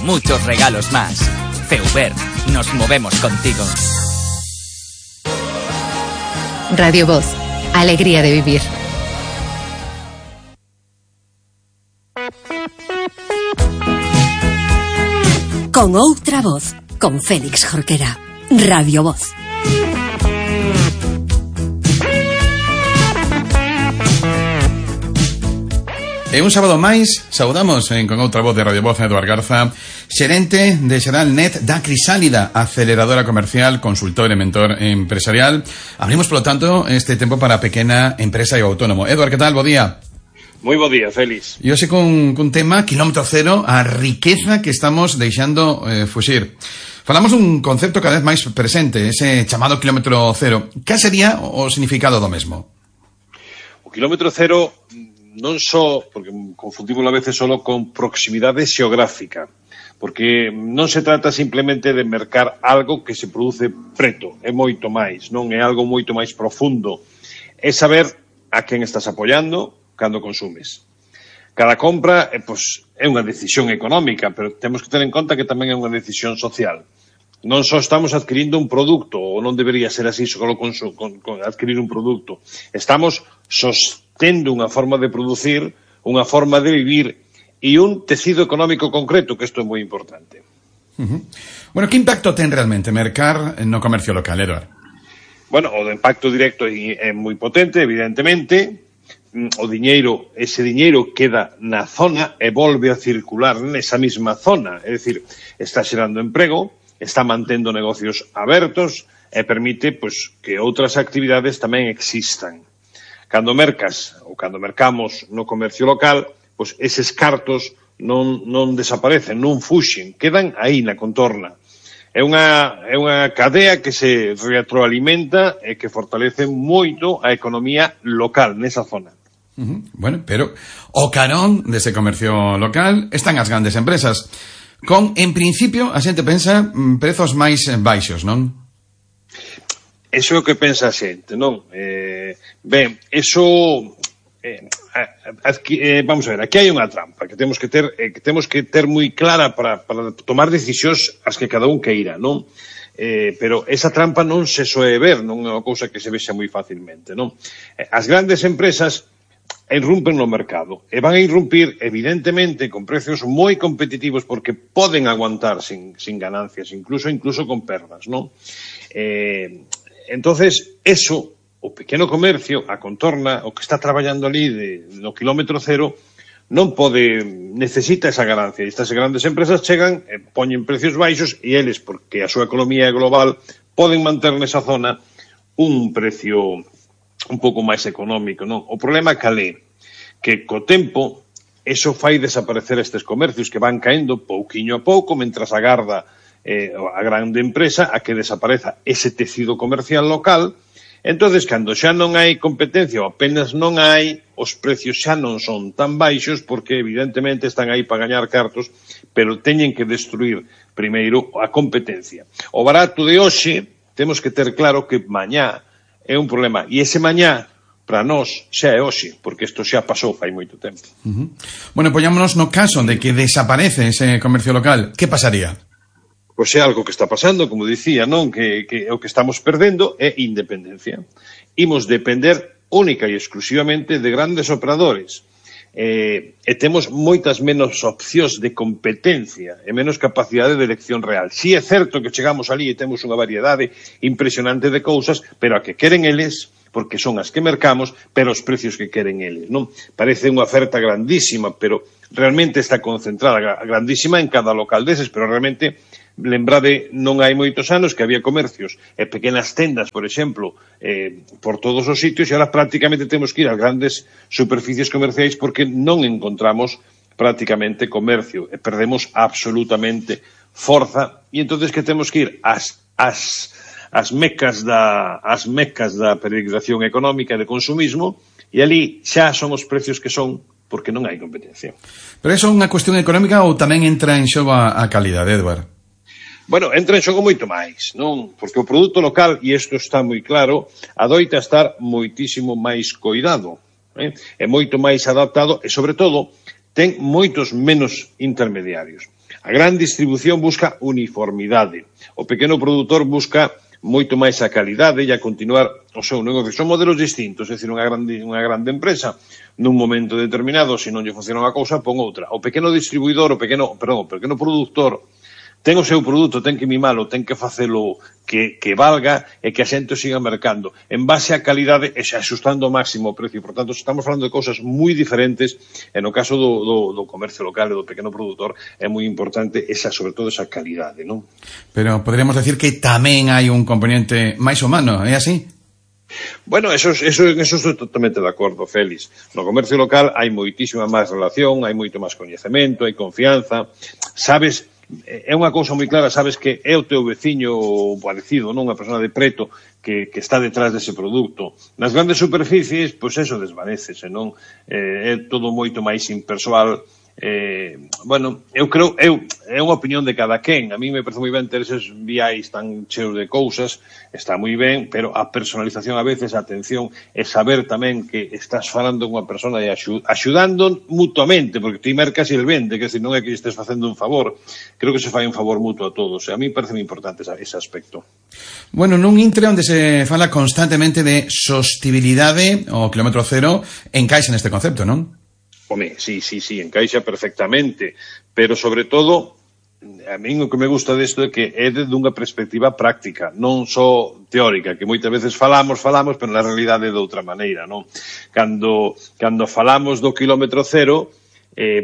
muchos regalos más. Feuber, nos movemos contigo. Radio Voz, alegría de vivir. Con outra voz, con Félix Jorquera. Radio Voz. E un sábado máis, saudamos con outra voz de Radio Voz a Eduard Garza, xerente de Xeralnet da Crisálida, aceleradora comercial, consultor e mentor empresarial. Abrimos, polo tanto, este tempo para a pequena empresa e o autónomo. Eduard, que tal? Bo día. Moi bo día, Félix. E hoxe cun tema, quilómetro cero, a riqueza que estamos deixando fuxir. Falamos dun concepto cada vez máis presente, ese chamado quilómetro cero. Que sería o significado do mesmo? O quilómetro cero non só, porque confundimos a veces solo con proximidade xeográfica, porque non se trata simplemente de mercar algo que se produce preto, é moito máis, non é algo moito máis profundo. É saber a quen estás apoiando cando consumes. Cada compra é unha decisión económica, pero temos que ter en conta que tamén é unha decisión social. Non só estamos adquirindo un produto, ou non debería ser así só con adquirir un produto. Estamos sostendo unha forma de producir, unha forma de vivir e un tecido económico concreto, que isto é moi importante. Bueno, que impacto ten realmente mercar no comercio local, Eduard? Bueno, o impacto directo é moi potente, evidentemente. Ese diñeiro queda na zona e volve a circular nesa mesma zona. É dicir, está xerando emprego, está mantendo negocios abertos e permite que outras actividades tamén existan. Cando mercas ou cando mercamos no comercio local, eses cartos non desaparecen, non fuxen, quedan aí na contorna. É unha cadea que se retroalimenta e que fortalece moito a economía local nesa zona. Bueno, pero o carón dese comercio local están as grandes empresas. En principio, a xente pensa prezos máis baixos, non? Eso é o que pensa a xente, non? Vamos a ver, aquí hai unha trampa que temos que ter moi clara para tomar decisións as que cada un queira, non? Pero esa trampa non se soe ver, non é unha cousa que se vexa moi facilmente, non? As grandes empresas irrumpen no mercado e van a irrumpir evidentemente con precios moi competitivos porque poden aguantar sin ganancias, incluso con perdas, non? Entonces, eso, o pequeno comercio, a contorna, o que está traballando ali no quilómetro cero, non necesita esa ganancia. E estas grandes empresas chegan e poñen precios baixos e eles, porque a súa economía é global, poden manter nesa zona un precio un pouco máis económico, non? O problema é que co tempo eso fai desaparecer estes comercios que van caendo pouquiño a pouco mentras agarda a grande empresa a que desapareza ese tecido comercial local. Entonces, cando xa non hai competencia ou apenas non hai, os precios xa non son tan baixos porque evidentemente están aí para gañar cartos, pero teñen que destruir primeiro a competencia. O barato de hoxe temos que ter claro que mañá é un problema. E ese mañá, para nós, xa é hoxe, porque isto xa pasou fai moito tempo. Bueno, poñámonos no caso de que desaparece ese comercio local. Que pasaría? Pois é algo que está pasando, como dicía, non? Que o que estamos perdendo é independencia. Imos depender única e exclusivamente de grandes operadores. E temos moitas menos opcións de competencia e menos capacidade de elección real. Si é certo que chegamos ali e temos unha variedade impresionante de cousas, pero a que queren eles, porque son as que mercamos, pero os precios que queren eles, non? Parece unha oferta grandísima, pero realmente está concentrada, grandísima en cada local deses, pero realmente, lembrade, non hai moitos anos que había comercios e pequenas tendas, por exemplo, por todos os sitios, e ahora prácticamente temos que ir ás grandes superficies comerciais porque non encontramos prácticamente comercio e perdemos absolutamente forza, e entonces que temos que ir as mecas da peregrinación económica e de consumismo, e ali xa son os precios que son porque non hai competencia. Pero iso é unha cuestión económica ou tamén entra en xogo a calidade, Eduard? Bueno, entra en xogo moito máis, non? Porque o produto local, e isto está moi claro, adoita estar moitísimo máis coidado, é moito máis adaptado e, sobre todo, ten moitos menos intermediarios. A gran distribución busca uniformidade. O pequeno produtor busca moito máis a calidade e a continuar o seu negocio. Son modelos distintos, é dicir, unha grande empresa, nun momento determinado, se non lle funciona unha cousa, pon outra. O pequeno distribuidor, o pequeno produtor, ten o seu produto, ten que mimalo, ten que facelo que valga e que a xente o siga mercando en base á calidade e xa axustando ao máximo o precio. Por tanto, estamos falando de cousas moi diferentes e no caso do comercio local e do pequeno produtor é moi importante sobre todo esa calidade, non? Pero poderíamos decir que tamén hai un componente máis humano, é así? Bueno, eso estou totalmente de acordo, Félix. No comercio local hai moitísima máis relación, hai moito máis coñecemento, hai confianza, sabes. É unha cousa moi clara, sabes que é o teu veciño parecido, non? Unha persona de preto que está detrás dese produto. Nas grandes superficies, pois eso desvanécese, non? É todo moito máis impersoal. Bueno, eu creo, é unha opinión de cada quen. A mí me parece moi ben ter eses viais tan cheos de cousas, está moi ben, pero a personalización a veces, a atención, é saber tamén que estás falando con unha persona e axudando mutuamente, porque ti mercas e el vende, que non é que estés facendo un favor. Creo que se fai un favor mutuo a todos, e a mí parece moi importante ese aspecto. Bueno, nun intre onde se fala constantemente de sostibilidade, o kilómetro cero, encaixa neste concepto, non? Home, sí, encaixa perfectamente, pero sobre todo, a min o que me gusta desto é que é dunha perspectiva práctica, non só teórica, que moitas veces falamos, pero na realidade é de outra maneira, non? Cando falamos do kilómetro cero,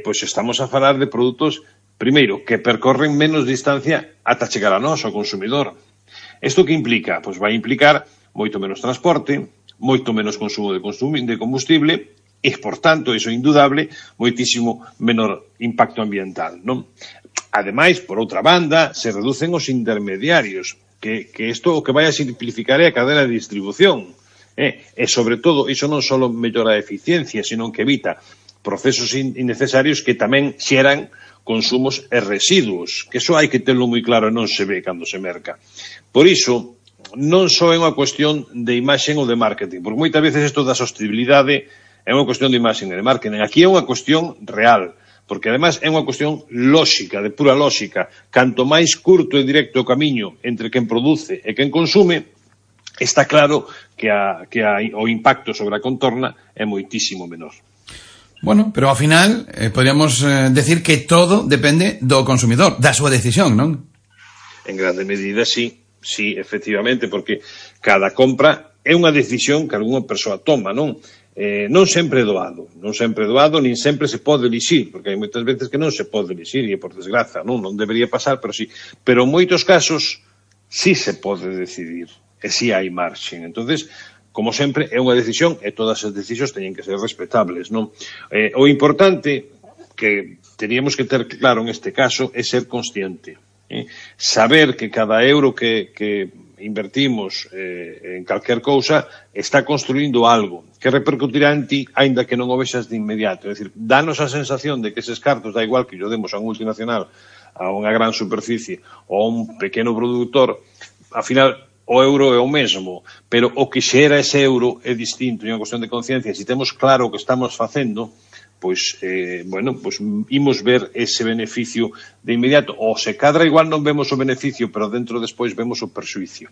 pois estamos a falar de produtos, primeiro, que percorren menos distancia ata chegar a nós, ao consumidor. Isto que implica? Pois vai implicar moito menos transporte, moito menos consumo de combustible, e, por tanto, iso é indudable, moitísimo menor impacto ambiental, non? Ademais, por outra banda, se reducen os intermediarios, que isto o que vai a simplificar é a cadena de distribución. E, sobre todo, iso non só mellora a eficiencia, sino que evita procesos innecesarios que tamén xeran consumos e residuos, que iso hai que terlo moi claro e non se ve cando se merca. Por iso, non só é unha cuestión de imaxen ou de marketing, porque moitas veces isto da sostenibilidade é unha cuestión de imaxen e de marketing. Aquí é unha cuestión real, porque además é unha cuestión lóxica, de pura lóxica. Canto máis curto e directo o camiño entre quen produce e quen consume, está claro que o impacto sobre a contorna é moitísimo menor. Bueno, pero ao final podríamos decir que todo depende do consumidor, da súa decisión, non? En grande medida, sí, efectivamente, porque cada compra é unha decisión que algunha persoa toma, non? Non sempre é doado, nin sempre se pode elixir, porque hai moitas veces que non se pode elixir, e por desgraza, non debería pasar, pero sí. Pero en moitos casos sí se pode decidir, e sí hai marxen. Entonces, como sempre, é unha decisión, e todas as decisións teñen que ser respetables, non? O importante que teríamos que ter claro en este caso é ser consciente. Saber que cada euro que invertimos en calquer cousa está construindo algo que repercutirá en ti, aínda que non o vexas de inmediato. É dicir, danos a sensación de que eses cartos, da igual que o demos a un multinacional, a unha gran superficie ou a un pequeno produtor, ao final o euro é o mesmo, pero o que xera ese euro é distinto, é unha cuestión de conciencia. Se temos claro o que estamos facendo, pois, pois imos ver ese beneficio de inmediato. Ou se cadra igual non vemos o beneficio, pero dentro despois vemos o perxuicio.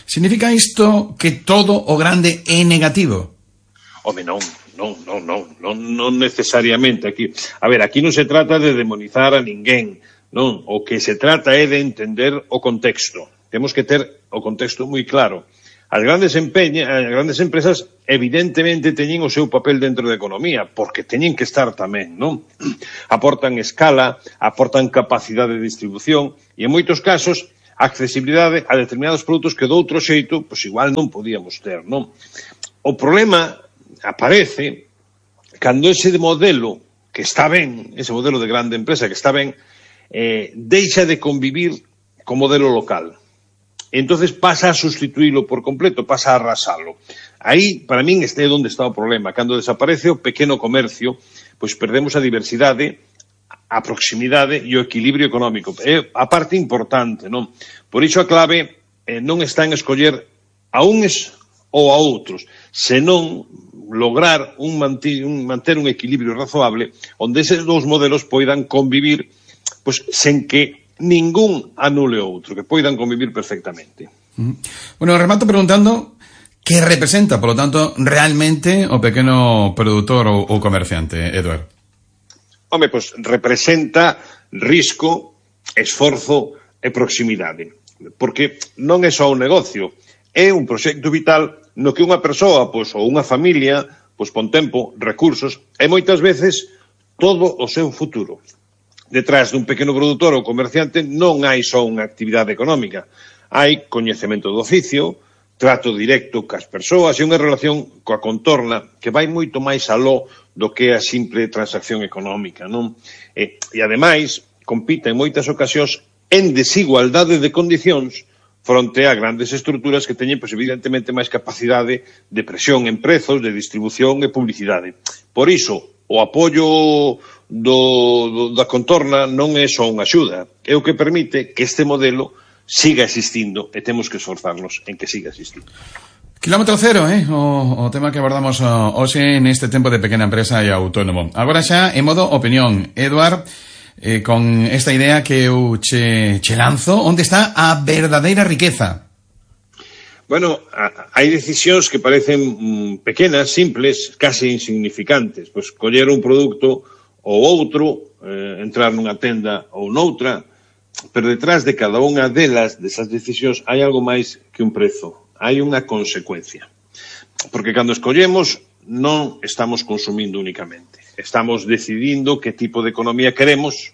Significa isto que todo o grande é negativo? Home, non necesariamente. Aquí non se trata de demonizar a ninguén, non. O que se trata é de entender o contexto. Temos que ter o contexto moi claro. As grandes empresas evidentemente teñen o seu papel dentro da economía, porque teñen que estar tamén, non? Aportan escala, aportan capacidade de distribución e en moitos casos accesibilidade a determinados produtos que de outro xeito, pois igual non podíamos ter, non? O problema aparece cando ese modelo que está ben, ese modelo de grande empresa que está ben, deixa de convivir co modelo local. Entonces pasa a sustituílo por completo, pasa a arrasalo. Aí, para min, este é onde está o problema. Cando desaparece o pequeno comercio, pois perdemos a diversidade, a proximidade e o equilibrio económico. É a parte importante, non? Por iso a clave non está en escoller a uns ou a outros, senón lograr manter un equilibrio razoable onde eses dous modelos poidan convivir pois sen que ningún anule outro, que poidan convivir perfectamente. Bueno, remato preguntando que representa, por lo tanto, realmente o pequeno produtor ou comerciante, Eduard. Home, pois representa risco, esforzo e proximidade. Porque non é só un negocio, é un proxecto vital no que unha persoa, pois, ou unha familia, pois pon tempo, recursos e moitas veces todo o seu futuro. Detrás dun pequeno produtor ou comerciante non hai só unha actividade económica, hai coñecemento do oficio, trato directo cas persoas e unha relación coa contorna que vai moito máis aló do que a simple transacción económica, non? E ademais, compite en moitas ocasións en desigualdade de condicións fronte a grandes estruturas que teñen, pois, evidentemente, máis capacidade de presión en prezos, de distribución e publicidade. Por iso, o apoio da contorna non é só unha axuda, é o que permite que este modelo siga existindo e temos que esforzarnos en que siga existindo. Kilómetro cero, o tema que abordamos hoxe neste tempo de pequena empresa e autónomo. Agora xa, en modo opinión, Eduard, con esta idea que eu che lanzo, onde está a verdadeira riqueza? Bueno, hai decisións que parecen pequenas, simples, case insignificantes. Pois coller un produto ou outro, entrar nunha tenda ou noutra, pero detrás de cada unha desas decisións hai algo máis que un prezo, hai unha consecuencia. Porque cando escollemos non estamos consumindo únicamente, estamos decidindo que tipo de economía queremos,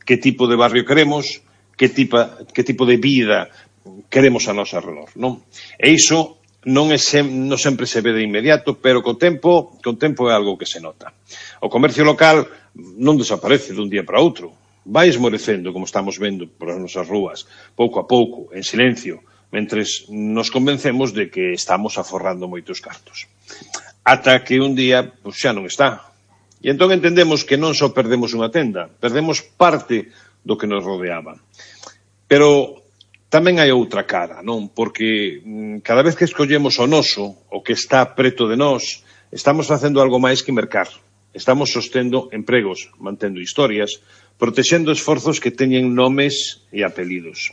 que tipo de barrio queremos, que tipo de vida queremos a nosa redor, non? E iso non sempre se ve de inmediato, pero co tempo é algo que se nota. O comercio local non desaparece dun día para outro, vai esmorecendo, como estamos vendo por as nosas rúas, pouco a pouco, en silencio, mentres nos convencemos de que estamos aforrando moitos cartos. Ata que un día, pois, xa non está. E entón entendemos que non só perdemos unha tenda, perdemos parte do que nos rodeaba. Pero tamén hai outra cara, non? Porque cada vez que escollemos o noso, o que está preto de nós, estamos facendo algo máis que mercar. Estamos sostendo empregos, mantendo historias, protexendo esforzos que teñen nomes e apelidos.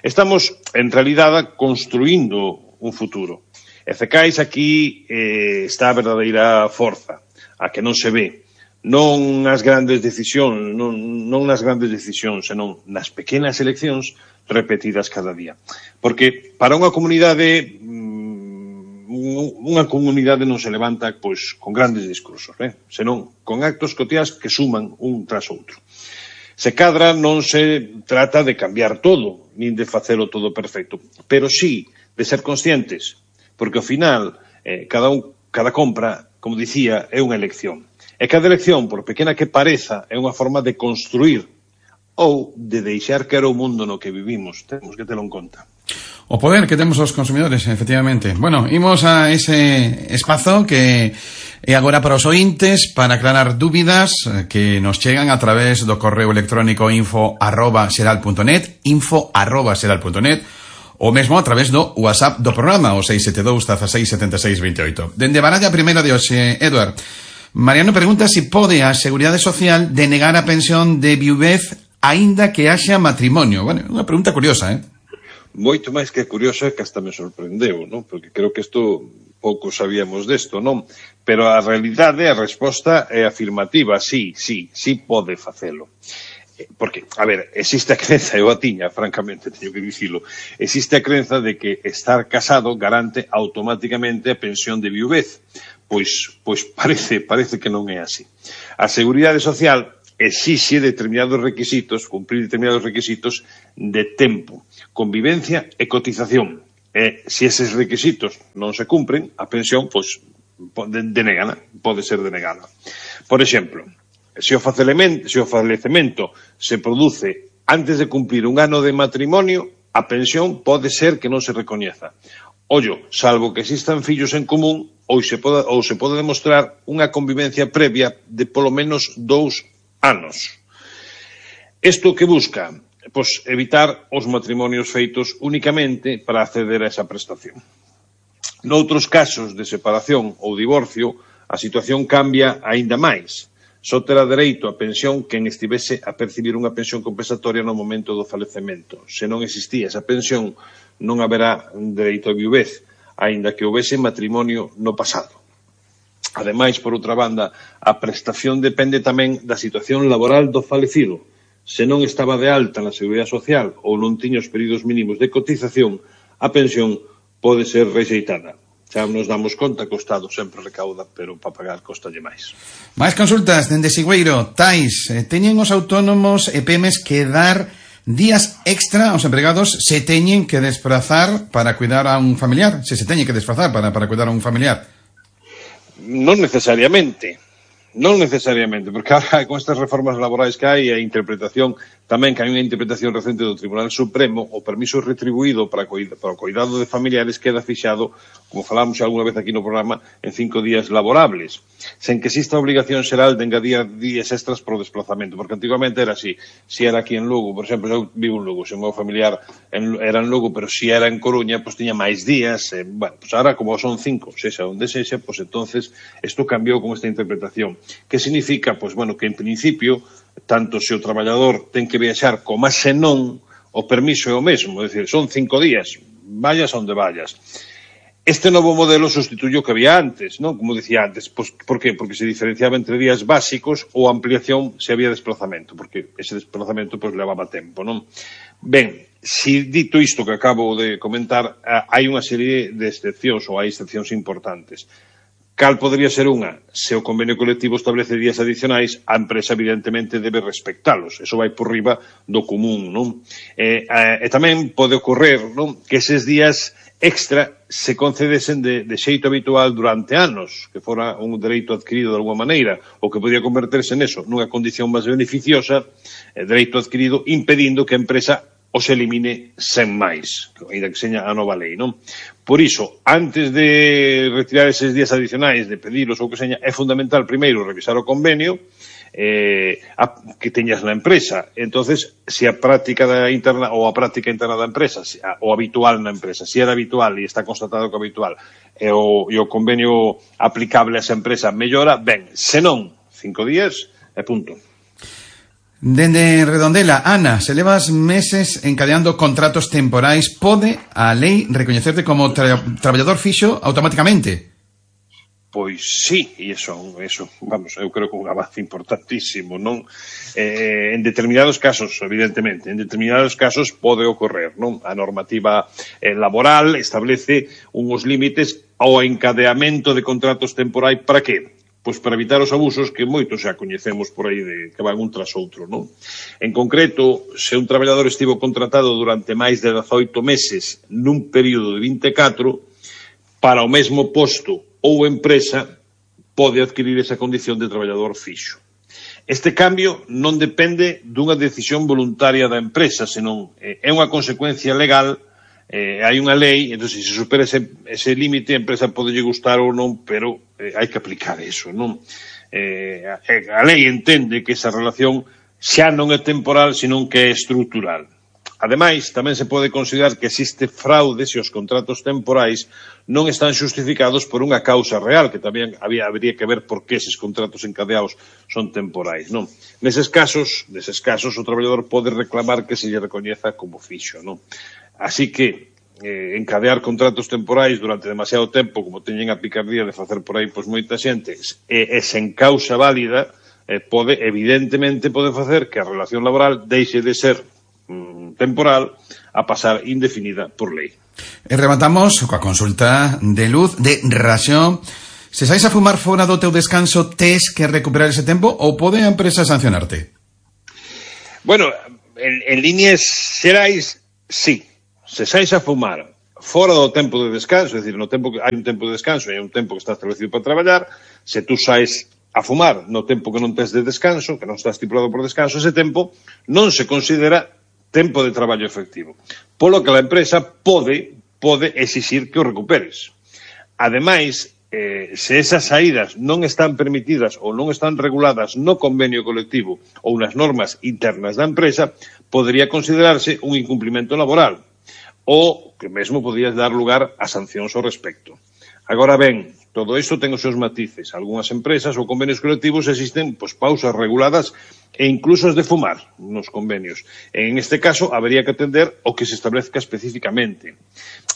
Estamos, en realidade, construindo un futuro. E cecais aquí está a verdadeira forza, a que non se ve. Non nas grandes decisións, non nas grandes decisións, senón nas pequenas eleccións repetidas cada día. Porque para unha comunidade non se levanta pois con grandes discursos, senón con actos cotiás que suman un tras outro. Se cadra non se trata de cambiar todo, nin de facelo todo perfecto, pero sí de ser conscientes, porque ao final cada compra, como dicía, é unha elección. E cada elección, por pequena que pareza, é unha forma de construir ou de deixar que era o mundo no que vivimos. Temos que telo en conta. O poder que temos os consumidores, efectivamente. Bueno, imos a ese espazo que é agora para os ointes, para aclarar dúbidas que nos chegan a través do correo electrónico info@seral.net, info@seral.net, ou mesmo a través do WhatsApp do programa, o 672 16 76 28. Dende baralla primeira de hoxe, Eduard, Mariano pregunta se pode a Seguridade Social denegar a pensión de viuvez aínda que haxa matrimonio. Bueno, unha pregunta curiosa, Moito máis que curiosa, que hasta me sorprendeu, non? Porque creo que isto pouco sabíamos desto, non? Pero a realidade, a resposta é afirmativa, sí pode facelo. Porque, a ver, existe a crenza, eu a tiña, francamente, teño que dicilo, existe a crenza de que estar casado garante automáticamente a pensión de viuvez. Pois parece que non é así. A Seguridade Social exixe determinados requisitos, cumprir determinados requisitos de tempo, convivencia e cotización. E se eses requisitos non se cumpren, a pensión pode ser denegada. Por exemplo, se o falecemento se produce antes de cumplir un ano de matrimonio, a pensión pode ser que non se recoñeza. Ollo, salvo que existan fillos en común ou se pode demostrar unha convivencia previa de polo menos 2 anos. Isto que busca? Pois evitar os matrimonios feitos únicamente para acceder a esa prestación. Noutros casos de separación ou divorcio, a situación cambia aínda máis. Só terá dereito a pensión quen estivese a percibir unha pensión compensatoria no momento do falecemento. Se non existía esa pensión, non haberá dereito a viuvez, aínda que houvese matrimonio no pasado. Ademais, por outra banda, a prestación depende tamén da situación laboral do falecido. Se non estaba de alta na Seguridade Social ou non tiña os períodos mínimos de cotización, a pensión pode ser rexeitada. Xa nos damos conta que o Estado sempre recauda, pero para pagar costalle máis. Máis consultas dende Sigüeiro. Tais, teñen os autónomos e PEMES que dar días extra aos empregados se teñen que desplazar para cuidar a un familiar? Se teñen que desplazar para cuidar a un familiar? Non necesariamente, porque ahora con estas reformas laborais que hai, a interpretación, tamén que hai unha interpretación recente do Tribunal Supremo, o permiso retribuído para o cuidado de familiares queda fixado, como falamos alguna vez aquí no programa, en 5 días laborables, sen que exista obligación xeral de engadir días extras por desplazamento, porque antigamente era así, si era aquí en Lugo, por exemplo, eu vivo en Lugo, se o meu familiar era en Lugo, pero si era en Coruña, pues tiña máis días, bueno, pues ahora como son 5, sexa onde sexa, pues entonces isto cambiou con esta interpretación. Que significa, pues bueno, que en principio, tanto se o traballador ten que viaxar como se non, o permiso é o mesmo, é dicir, son 5 días, vayas onde vayas. Este novo modelo sustituye o que había antes, non? Como dicía antes, pues, por qué? Porque se diferenciaba entre días básicos ou ampliación se había desplazamento, porque ese desplazamento pues levaba tempo, non? Ben, si dito isto que acabo de comentar, hai unha serie de excepcións ou hai excepcións importantes. Cal podría ser unha? Se o convenio colectivo establece días adicionais, a empresa evidentemente debe respectalos. Eso vai por riba do común, non? E tamén pode ocorrer, non, que eses días extra se concedesen de xeito habitual durante anos, que fora un dereito adquirido de alguma maneira, ou que podía converterse neso, nunha condición máis beneficiosa, dereito adquirido, impedindo que a empresa os elimine sen máis, ainda que seña a nova lei, non? Por iso, antes de retirar eses días adicionais, de pedilos ou que seña, é fundamental primeiro revisar o convenio que teñas na empresa. Entonces, se a práctica interna ou a práctica interna da empresa, o habitual na empresa, se era habitual e está constatado que habitual e o convenio aplicable a esa empresa mellora, ben, se non, 5 días e punto. Dende Redondela, Ana, se levas meses encadeando contratos temporais, pode a lei recoñecerte como traballador fixo automáticamente? Pois sí, e eso, vamos, eu creo que un avance importantísimo, non? En determinados casos, evidentemente, en determinados casos pode ocorrer, non? A normativa laboral establece uns límites ao encadeamento de contratos temporais, para que? Pois para evitar os abusos que moitos xa coñecemos por aí de que van un tras outro, non? En concreto, se un traballador estivo contratado durante máis de 18 meses nun período de 24, para o mesmo posto ou empresa pode adquirir esa condición de traballador fixo. Este cambio non depende dunha decisión voluntaria da empresa, senón é unha consecuencia legal. Hai unha lei, entón se supera ese límite, a empresa pode lle gustar ou non, pero hai que aplicar eso, non? A lei entende que esa relación xa non é temporal, senón que é estrutural. Ademais, tamén se pode considerar que existe fraude se os contratos temporais non están xustificados por unha causa real, que tamén habría que ver por que eses contratos encadeados son temporais, non? Neses casos, o traballador pode reclamar que se lle recoñeza como fixo, non? Así que encadear contratos temporais durante demasiado tempo, como teñen a picardía de facer por aí pois moita xente, e sen causa válida, evidentemente pode facer que a relación laboral deixe de ser temporal a pasar indefinida por lei. E rematamos coa consulta de Luz de Raxón. Se sais a fumar fora do teu descanso, tes que recuperar ese tempo ou pode a empresa sancionarte? Bueno, en líneas xerais, sí. Se sais a fumar fora do tempo de descanso, é dicir, no tempo que hai un tempo de descanso e hai un tempo que está establecido para traballar, se tú sais a fumar no tempo que non tes de descanso, que non está estipulado por descanso, ese tempo non se considera tempo de traballo efectivo. Polo que a empresa pode exixir que o recuperes. Ademais, se esas saídas non están permitidas ou non están reguladas no convenio colectivo ou nas normas internas da empresa, podría considerarse un incumprimento laboral, ou que mesmo podías dar lugar a sancións ao respecto. Agora ben, Todo isto ten os seus matices. Algúnas empresas ou convenios colectivos existen pausas reguladas e incluso as de fumar nos convenios. En este caso, habería que atender o que se establezca especificamente.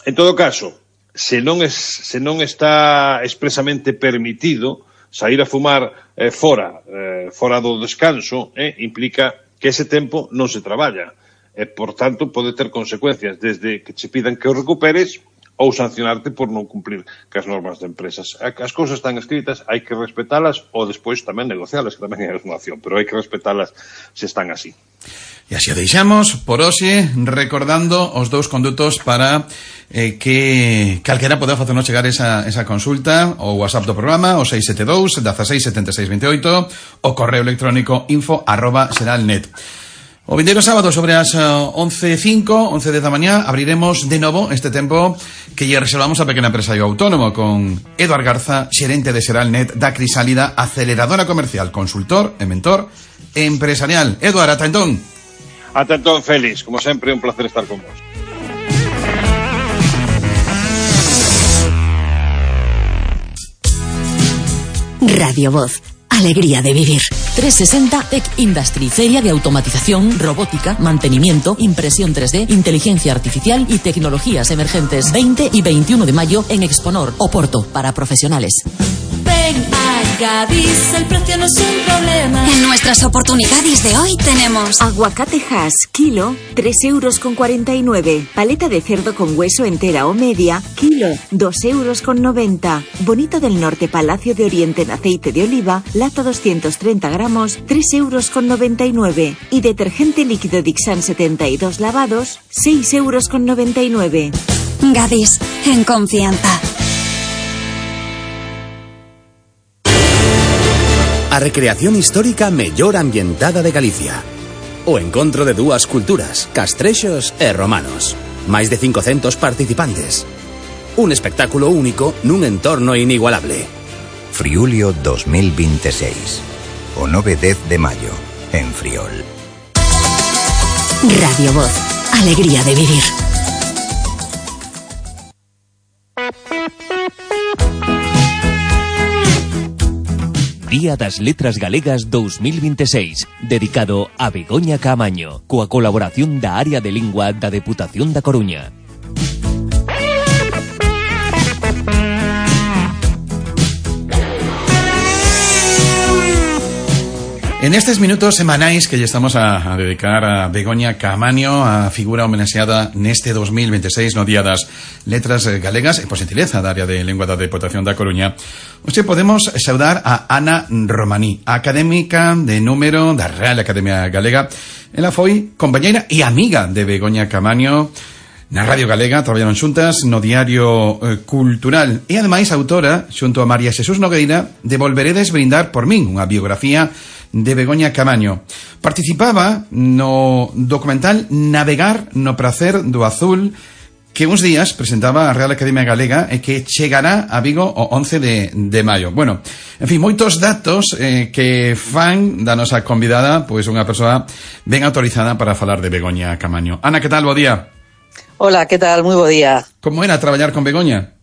En todo caso, se non está expresamente permitido sair a fumar fora do descanso, implica que ese tempo non se traballa. Por tanto, pode ter consecuencias desde que che pidan que o recuperes ou sancionarte por non cumprir cas normas de empresas. As cousas están escritas, hai que respetalas ou despois tamén negocialas, que tamén é unha opción, pero hai que respetalas se están así. E así o deixamos por hoxe, recordando os dous condutos para que calquera poda facernos chegar esa consulta, o WhatsApp do programa, o 672 16 76 28, o correo electrónico info@seralnet. O vindeiro sábado sobre as 11:05, 11:10 da mañá, abriremos de novo este tempo que lle reservamos a pequena empresario autónomo con Eduard Garza, xerente de Seralnet da Crisálida, aceleradora comercial, consultor e mentor empresarial. Eduard, ata entón. Ata entón, Félix, como sempre, un placer estar con vos. Radio Voz, alegría de vivir. 360 Tech Industry, feria de automatización, robótica, mantenimiento, impresión 3D, inteligencia artificial y tecnologías emergentes. 20 y 21 de mayo en Exponor, Oporto, para profesionales. Ven a Gadis, el precio no es un problema. En nuestras oportunidades de hoy tenemos aguacate Hass, kilo, 3,49 €. Paleta de cerdo con hueso entera o media, kilo, 2,90 €. Bonito del Norte, Palacio de Oriente en aceite de oliva, lata 230 gramos, 3,99 €. Y detergente líquido Dixan 72 lavados, 6,99 €. Gadis, en confianza. A recreación histórica mellor ambientada de Galicia. O encontro de dúas culturas, castrexos e romanos. Máis de 500 participantes. Un espectáculo único nun entorno inigualable. Friulio 2026. O 9-10 de maio, en Friol. Radio Voz, alegría de vivir. Día das Letras Galegas 2026, dedicado a Begoña Caamaño, coa colaboración da Área de Lingua da Deputación da Coruña. En estes minutos semanais que lle estamos a dedicar a Begoña Caamaño, a figura homenaxeada neste 2026 no Día das Letras Galegas e por xentileza da Área de Lingua da Deputación da Coruña, hoxe podemos saudar a Ana Romaní, académica de número da Real Academia Galega. Ela foi compañeira e amiga de Begoña Caamaño na Radio Galega, traballaron xuntas no Diario Cultural e ademais autora, xunto a María Xesús Nogueira, de Volveredes brindar por min, unha biografía de Begoña Caamaño. Participaba no documental Navegar no prazer do azul, que uns días presentaba a Real Academia Galega e que chegará a Vigo o 11 de maio. Bueno, en fin, moitos datos que fan da nosa convidada, pois unha persoa ben autorizada para falar de Begoña Caamaño. Ana, que tal? Bo día. Hola, que tal? Moi bo día. Como era traballar con Begoña?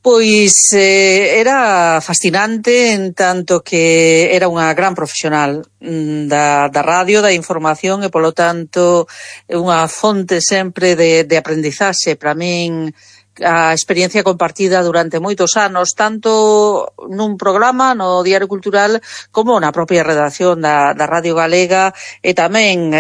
Pois era fascinante en tanto que era unha gran profesional da radio, da información e polo tanto unha fonte sempre de aprendizaxe para min. A experiencia compartida durante moitos anos, tanto nun programa no Diario Cultural como na propia redacción da Radio Galega e tamén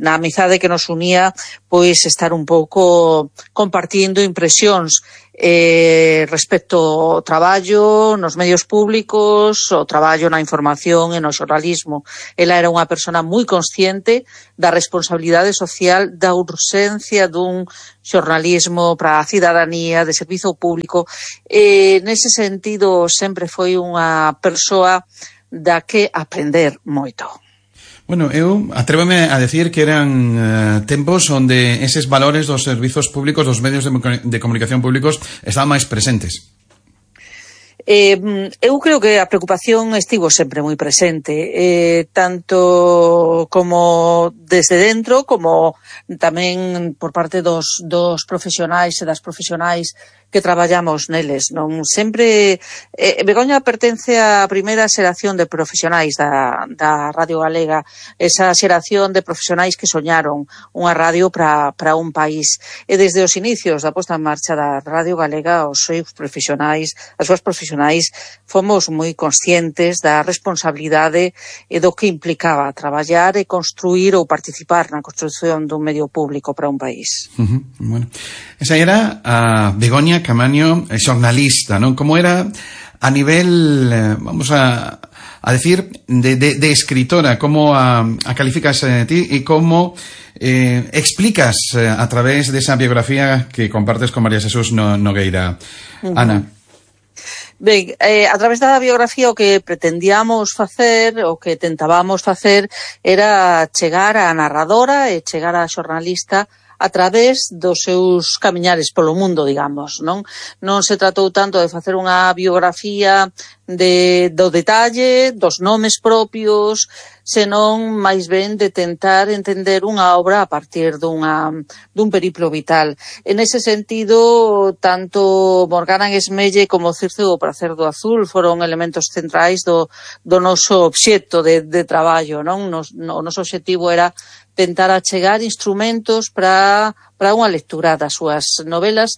na amizade que nos unía, pois estar un pouco compartindo impresións respecto ao traballo nos medios públicos, o traballo na información e no xornalismo. Ela era unha persona moi consciente da responsabilidade social, da urxencia dun xornalismo para a cidadanía, de servizo público. Nese sentido, sempre foi unha persoa da que aprender moito. Bueno, eu atrévome a decir que eran tempos onde eses valores dos servizos públicos, dos medios de comunicación públicos estaban máis presentes. Eu creo que a preocupación estivo sempre moi presente, tanto como desde dentro, como tamén por parte dos profesionais e das profesionais traballamos neles, non? Sempre Begoña pertence á primeira xeración de profesionais da Radio Galega, esa xeración de profesionais que soñaron unha radio para un país, e desde os inicios da posta en marcha da Radio Galega os seus profesionais, as súas profesionais, fomos moi conscientes da responsabilidade e do que implicaba traballar e construir ou participar na construción dun medio público para un país. Bueno, esa era a Begoña Caamaño, xornalista, non? Como era a nivel, vamos a decir, de escritora, como a calificas ti e como explicas a través de esa biografía que compartes con María Jesús Nogueira. Ana. Ben, a través da biografía o que pretendíamos facer, o que tentábamos facer, era chegar á narradora e chegar á xornalista a través dos seus camiñares polo mundo, digamos, non? Non se tratou tanto de facer unha biografía do detalle, dos nomes propios, senón máis ben de tentar entender unha obra a partir dun periplo vital. En ese sentido, tanto Morgana en Esmelle como Circe o prazer do azul foron elementos centrais do noso obxecto de traballo, non? O noso obxectivo era tentar achegar instrumentos para unha lectura das súas novelas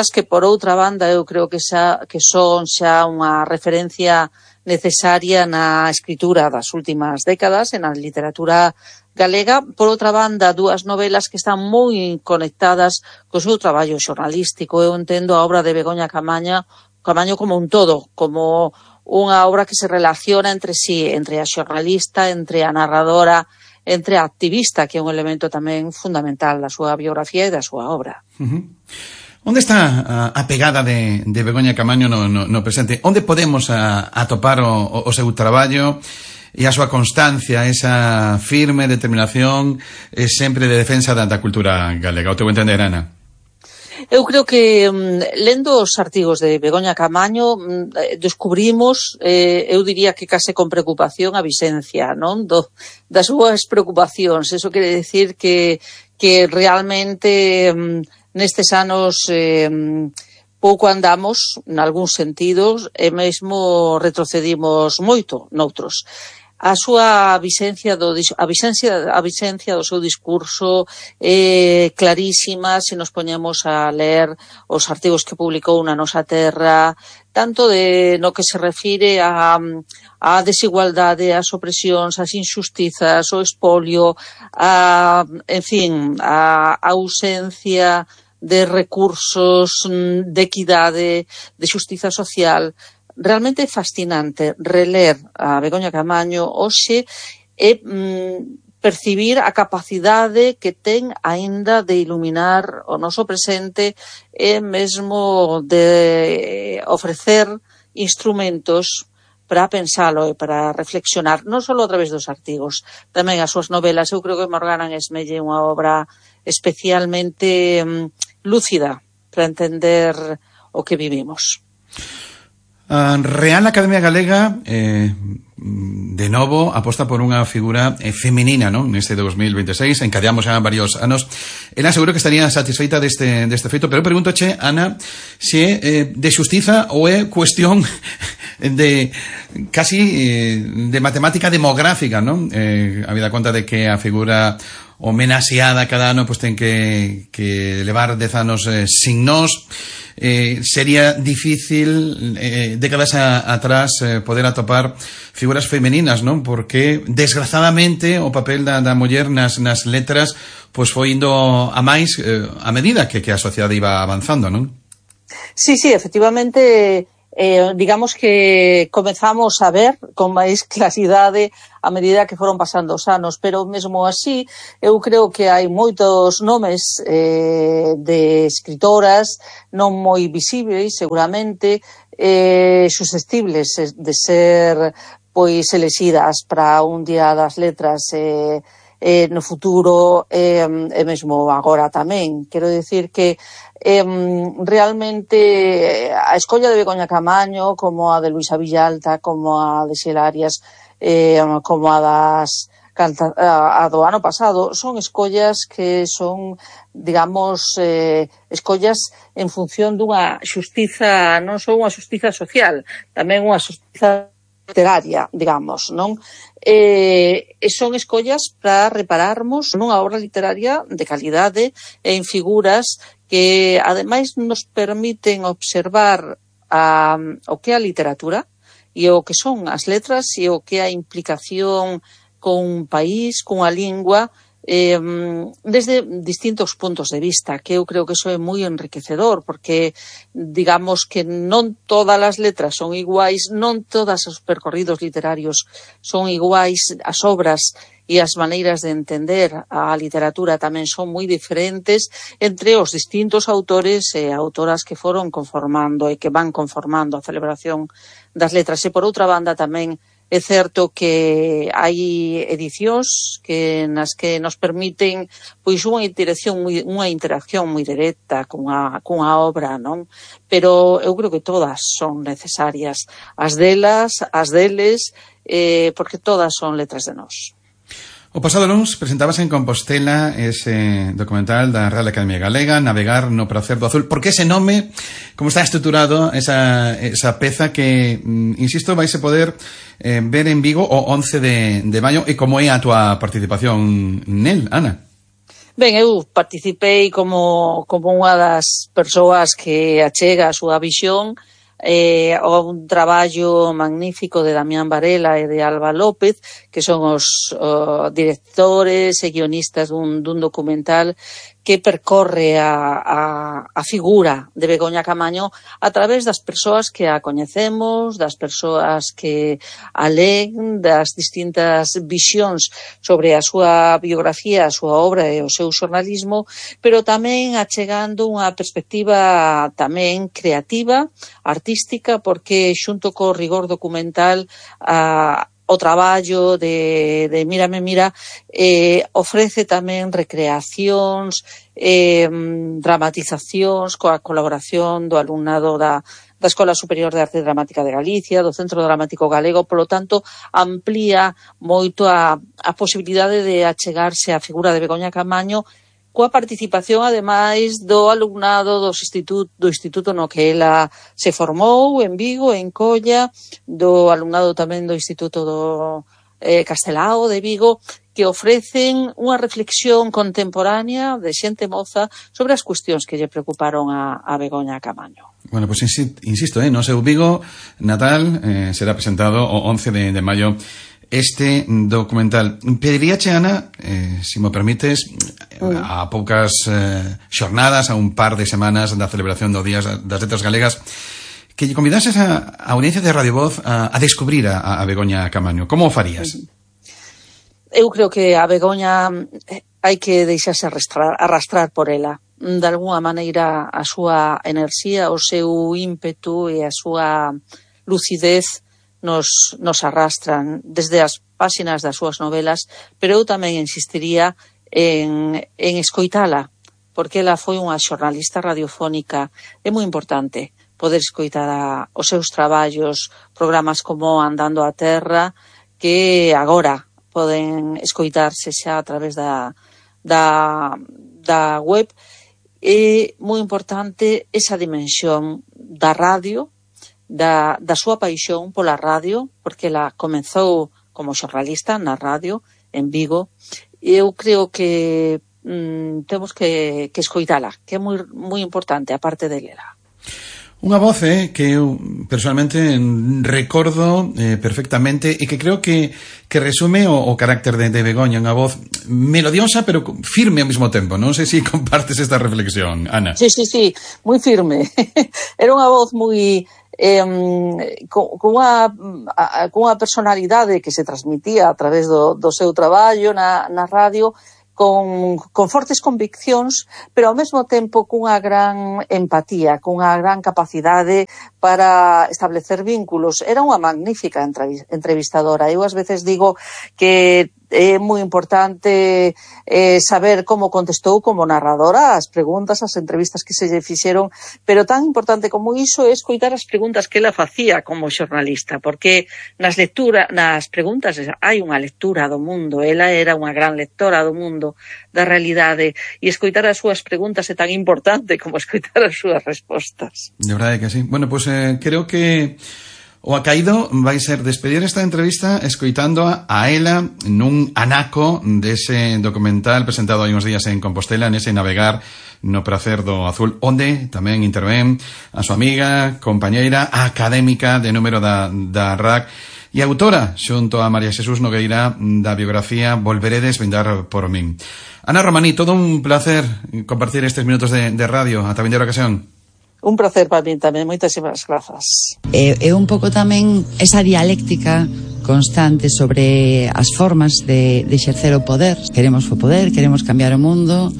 que, por outra banda, eu creo que son xa unha referencia necesaria na escritura das últimas décadas, na literatura galega. Por outra banda, dúas novelas que están moi conectadas co seu traballo xornalístico. Eu entendo a obra de Begoña Caamaño como un todo, como unha obra que se relaciona entre sí, entre a xornalista, entre a narradora, entre a activista, que é un elemento tamén fundamental da súa biografía e da súa obra. Onde está a pegada de Begoña Caamaño no presente? Onde podemos atopar o seu traballo e a súa constancia, esa firme determinación sempre de defensa da cultura galega? O teu entender, Ana? Eu creo que lendo os artigos de Begoña Caamaño descubrimos, eu diría que case con preocupación, a vixencia, non? Das súas preocupacións. Eso quere decir que realmente nestes anos pouco andamos, nalgúns sentidos, e mesmo retrocedimos moito noutros. A súa vixencia do seu discurso é clarísima se nos poñemos a ler os artigos que publicou na Nosa Terra, tanto no que se refire á desigualdade, ás opresións, ás injustizas, ao espolio, en fin, a ausencia de recursos, de equidade, de xustiza social. Realmente é fascinante reler a Begoña Caamaño hoxe e percibir a capacidade que ten aínda de iluminar o noso presente e mesmo de ofrecer instrumentos para pensalo e para reflexionar, non só a través dos artigos, tamén as súas novelas. Eu creo que Morgana en Esmelle é unha obra especialmente lúcida para entender o que vivimos. Real Academia Galega de novo aposta por unha figura feminina, non? Neste 2026, encadeamos xa varios anos. Ela seguro que estaría satisfeita deste feito, pero preguntoche, Ana, se de xustiza ou é cuestión de casi de matemática demográfica, non? Habida conta de que a figura homenaxeada cada ano ten que levar 10 anos sin nós. Sería difícil décadas atrás poder atopar figuras femeninas, non? Porque desgraciadamente o papel da muller nas letras foi indo a máis a medida que a sociedade iba avanzando, non? Sí, efectivamente, digamos que comezamos a ver con máis claridade a medida que foron pasando os anos, pero mesmo así eu creo que hai moitos nomes de escritoras non moi visibles, seguramente susceptibles de ser pois elexidas para un día das letras no futuro e mesmo agora tamén. Quero dicir que realmente a escolla de Begoña Caamaño, como a de Luisa Villalta, como a de Xela Arias, como a das a do ano pasado, son escollas que son, digamos, escollas en función dunha xustiza, non só unha xustiza social, tamén unha xustiza literaria, digamos, non? Son escollas para repararmos nunha obra literaria de calidade e en figuras que, ademais, nos permiten observar o que é a literatura e o que son as letras e o que é a implicación con un país, con a lingua, desde distintos puntos de vista, que eu creo que eso é moi enriquecedor, porque digamos que non todas as letras son iguais, non todos os percorridos literarios son iguais, as obras e as maneiras de entender a literatura tamén son moi diferentes entre os distintos autores e autoras que foron conformando e que van conformando a celebración das letras. E por outra banda tamén é certo que hai edicións nas que nos permiten pois unha interacción moi directa cunha obra, non? Pero eu creo que todas son necesarias, as delas, as deles, porque todas son letras de nós. O pasado luns presentábase en Compostela ese documental da Real Academia Galega, Navegar no prazer do azul. Por que ese nome? Como está estruturado esa peza que, insisto, vais a poder ver en Vigo o 11 de maio, e como é a túa participación nel, Ana? Ben, eu participei como unha das persoas que achega a súa visión o un traballo magnífico de Damián Varela e de Alba López, que son os directores e guionistas dun documental que percorre a figura de Begoña Camaño a través das persoas que a coñecemos, das persoas que a leen, das distintas visións sobre a súa biografía, a súa obra e o seu xornalismo, pero tamén achegando unha perspectiva tamén creativa, artística, porque xunto co rigor documental o traballo de Mírame Mira ofrece tamén recreacións, dramatizacións coa colaboración do alumnado da Escola Superior de Arte Dramática de Galicia, do Centro Dramático Galego, polo tanto, amplía moito a posibilidade de achegarse á figura de Begoña Camaño coa participación, ademais, do alumnado do instituto no que ela se formou, en Vigo, en Colla, do alumnado tamén do Instituto do Castelao de Vigo, que ofrecen unha reflexión contemporánea de xente moza sobre as cuestións que lle preocuparon a Begoña Camaño. Bueno, pues insisto, no seu Vigo natal será presentado o 11 de maio este documental. Pediríache, Ana, si me permites, a poucas xornadas, a un par de semanas da celebración do Día das Letras Galegas, que lle convidases a audiencia de Radio Voz a descubrir a Begoña Camaño. Como o farías? Eu creo que a Begoña hai que deixarse arrastrar por ela. De alguna maneira, a súa enerxía, o seu ímpetu e a súa lucidez nos arrastran desde as páxinas das súas novelas, pero eu tamén insistiría en escoitala, porque ela foi unha xornalista radiofónica. É moi importante poder escoitar os seus traballos, programas como Andando a Terra, que agora poden escoitarse xa a través da web. É moi importante esa dimensión da radio, da súa paixón pola radio, porque ela comezou como xornalista na radio en Vigo, e eu creo que temos que escoitala, que é moi importante, a parte de lela. Unha voz que eu personalmente recordo perfectamente e que creo que resume o carácter de Begoña, unha voz melodiosa pero firme ao mesmo tempo. Non sei se compartes esta reflexión, Ana. Sí, moi firme. Era unha voz moi cunha personalidade que se transmitía a través do seu traballo na radio, con fortes conviccións, pero ao mesmo tempo cunha gran empatía, cunha gran capacidade para establecer vínculos. Era unha magnífica entrevistadora. Eu ás veces digo que é moi importante saber como contestou como narradora as preguntas, as entrevistas que se lle fixeron, pero tan importante como iso é escoitar as preguntas que ela facía como xornalista, porque nas preguntas hai unha lectura do mundo. Ela era unha gran lectora do mundo, da realidade, e escoitar as súas preguntas é tan importante como escoitar as súas respostas. De verdade que sí. Bueno, pues creo que o acaído vai ser despedir esta entrevista escoitando a ela nun anaco dese documental presentado hai uns días en Compostela, nese Navegar no pracer do azul, onde tamén intervén a súa amiga, compañeira, académica de número da RAC e autora, xunto a María Xesús Nogueira, da biografía Volveredes vindar por min. Ana Romaní, todo un placer compartir estes minutos de radio. Ata vindeira ocasión. Un placer para mí tamén, moitísimas grazas. É un pouco tamén esa dialéctica constante sobre as formas de exercer o poder. Queremos o poder, queremos cambiar o mundo,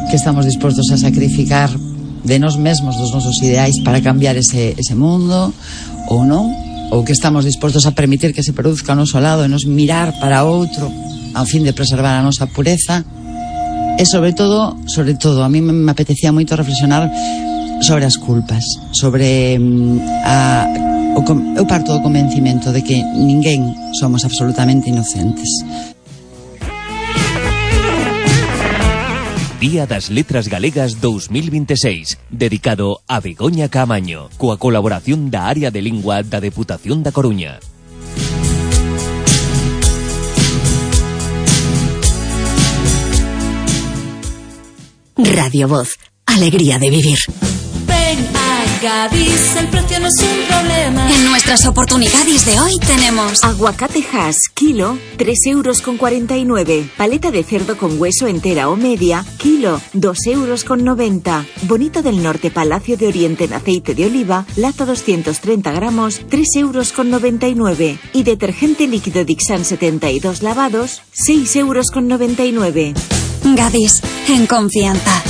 que estamos dispostos a sacrificar de nós mesmos, dos nosos ideais, para cambiar ese mundo, ou non, ou que estamos dispostos a permitir que se produzca ao noso lado e nos mirar para outro, ao fin de preservar a nosa pureza. E sobre todo, a mí me apetecía moito reflexionar sobre as culpas, sobre eu parto do convencimento de que ninguén somos absolutamente inocentes. Día das Letras Galegas 2026, dedicado a Begoña Caamaño, coa colaboración da Área de Lingua da Deputación da Coruña. Radio Voz, alegría de vivir. Ven a Gadis, el precio no es un problema. En nuestras oportunidades de hoy tenemos aguacate Hass, kilo, 3,49 €. Paleta de cerdo con hueso entera o media, kilo, 2,90 €. Bonito del Norte Palacio de Oriente en aceite de oliva, lata 230 gramos, 3,99 €. Y detergente líquido Dixan 72 lavados, 6,99 €. Gadis, en confianza.